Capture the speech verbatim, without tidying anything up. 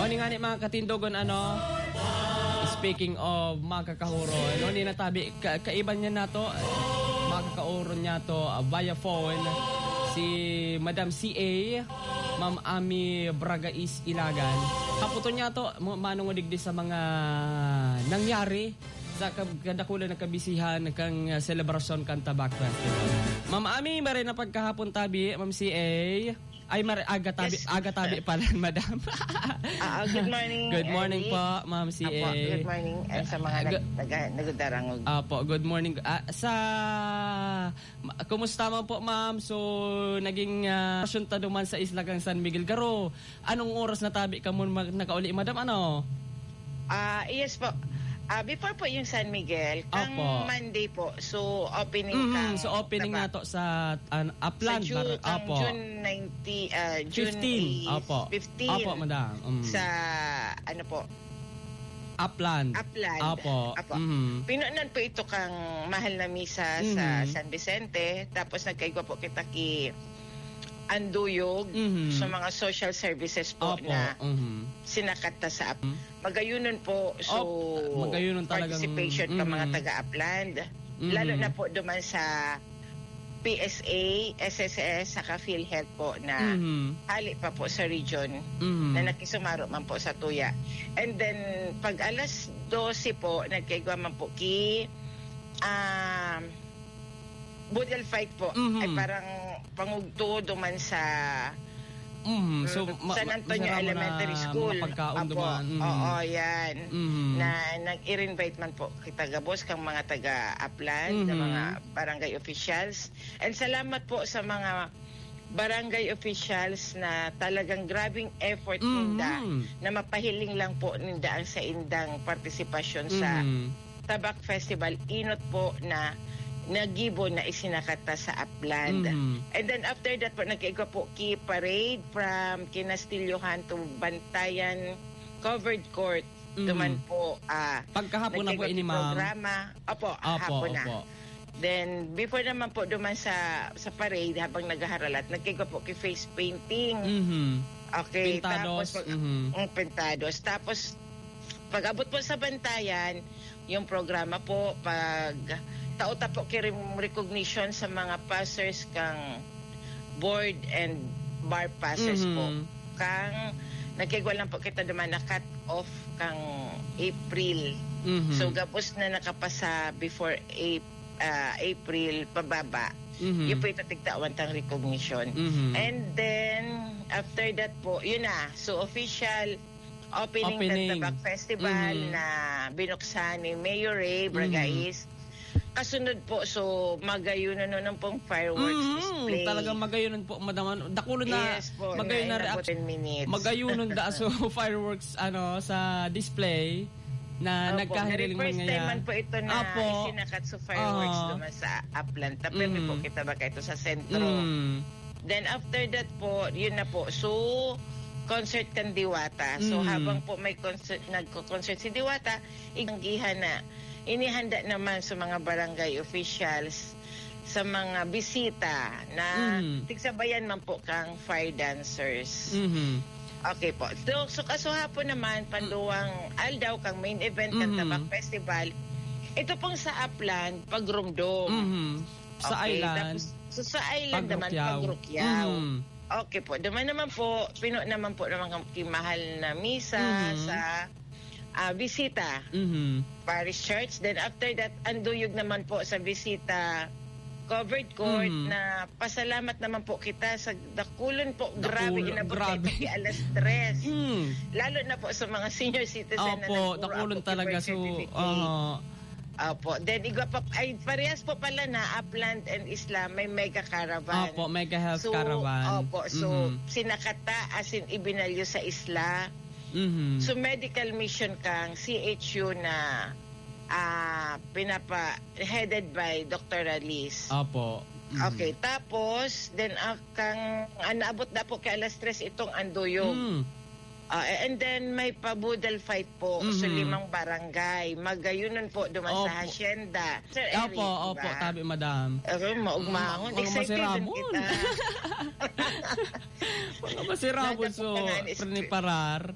Ini nga ni mga katindogon, ano, speaking of mga kakahuro, ano, ni natabi, ka-, kaiba niya na to, mga kakahuro niya to, ah, via phone, si Madam C A, Ma'am Ami Bragais Ilagan. Haputon niya to, mo-, manungo digdi sa mga nangyari sa kab-, kadakulan na kabisihan kan, ah, selebrasyon kan Tabak Festival. Ma'am Ami, maray na pagkahapon tabi, Ma'am C A. Ay, mar-, aga tabi, Yes. aga tabi pala, madam. Ah, ah, good morning, Good morning Eric. po, Ma'am C A. Apo, good morning, and sa mga Ah, nag-, gu- naga-, nagdarangog. Apo, good morning. Ah, sa, ma-, kumusta man po, ma'am? So, naging, ah, selebrasyon ta duman sa isla kang San Miguel. Garo, anong oras na tabi ka mo mag-, nakauli, madam? Ano? Ah, yes po. Ah, before po yung San Miguel, kang Opo. Monday po. So, opening Mhm, kang so opening Tabak. na to sa, an-, Sa Upland, Ju-, Bar-, kang opo. June nineteen, ah, June Fifteen, is opo. fifteen. Opo, madam. Mm. Sa, ano po? Upland. Upland. Opo. Opo. Mhm. Pinunan po ito kang mahal na misa sa Mhm. San Vicente. Tapos nagkaigwa po kita ki Anduyog Mhm. sa mga social services po Opo. na Mhm. sinakat ta sa ap-, Mm. magayunon po. So, Op-, magayunon talagang, participation ka mga mhm. taga-Upland. Mhm. Lalo na po duman sa P S A, S S S, saka PhilHealth po na Mhm. hali pa po sa region Mhm. na nakisumaro man po sa tuya. And then, pag alas dose po, nagkaigwa man po ki, um, Boodle fight po. Mhm. Ay parang pangugto duman sa, Mhm. So, mm, ma-, San ma-, Antonio masarap mo na Elementary School. mga pagkaon Apo. duman. Mhm. Oo, yan. Mhm. Na nag-i-invite man po kita gabos kang mga taga-Upland, na Mhm. mga barangay officials. And salamat po sa mga barangay officials na talagang grabing effort Mhm. ninda na mapahiling lang po ninda ang saindang partisipasyon sa Mhm. Tabak Festival, inot po na nagibo na isinakat ta sa Upland. Mhm. And then after that po, nagkaigwa po ki parade from Kinastilyohan to Bantayan Covered Court. Mhm. Duman po, ah, Pagkahapon na po nagkaigwa ini, ki ma'am? programa. Opo, Opo, hapon na. opo. Then, before naman po duman sa, sa parade, habang naghaharalat, nagkaigwa po ki face painting. Mhm. Okay, Pintados, tapos pag, mhm. mm, pintados. Tapos, pag-abot po sa Bantayan, yung programa po, pag tao ta po ki rem-, recognition sa mga passers kang board and bar passers po. Mhm. Kang nagkaigwa lang po kita duman na cut off kang April. Mhm. So, gabos na nakapasa before Ap-, ah, April pababa. Mhm. Yun po itatigtawan tang recognition. Mhm. And then, after that po, yun na. So, official opening ng Opening. Tabak Festival Mhm. na binuksan ni Mayor Ray Mhm. Bragais. Kasunod po, so, magayunon nun pong fireworks Mhm. display. Talagang magayunon po, madam. Ano, dakulo na Yes po, magayon na na inabot reaction. ten minutes. Magayunon da, so, fireworks, ano, sa display na Opo, nagkahiling very first man time ngayon. man po ito na Opo. isinakat sa fireworks Aha. duman sa Upland. Tapos Mhm. po kita ba kayo sa sentro? Mm. Then after that po, yun na po. So, concert kan Diwata. So, Mhm. habang po may concert, nagko-concert si Diwata, iganggihan na inihanda naman sa mga barangay officials, sa mga bisita na Mhm. tigsabayan man po kang fire dancers. Mhm. Okay po. So, so kasuhapon naman, panduwang aldaw kang main event kan Mhm. Tabak Festival, ito pong sa Upland, pagrumdom. Mhm. Sa Okay, island, tapos, so sa island naman, pagrukyaw. pagrukyaw. Mhm. Okay po. Duman naman po, pino naman po naman kang kimahal na misa Mhm. sa, ah, Visita Mhm. Parish Church. Then after that, anduyog naman po sa Visita Covered Court Mhm. na pasalamat naman po kita sa dakulon po. Grabe, Dakulon, inabot grabe. tayo pati alas tres. Mm. Lalo na po sa mga senior citizen na Opo, nagpuro dakulon ako talaga. So, certificate. aha. Opo. Then, igwa pa, ay, parehas po pala na Upland and Isla, may mega caravan. Opo, mega health So, caravan. opo. So, Mhm. sinakata, as in, ibinalyo sa Isla. Mhm. So, medical mission kang C H U na, ah, pinapa-, headed by Doctor Alice. Opo. Mhm. Okay. Tapos, then, ah, kang, ah, naabot na po kay alas tres itong anduyog. Mm. Ah, and then may pa-boodle fight po sa Mhm. limang barangay. Magayunon po duman sa Opo. Hacienda. Sir Eric, Opo, di opo, ba? tabi, madam. Ako, maugmahon. Mm, mga Excited din masirabon. kita. Mga masirabon, Nadapok so, ka nga ni Sir preparar.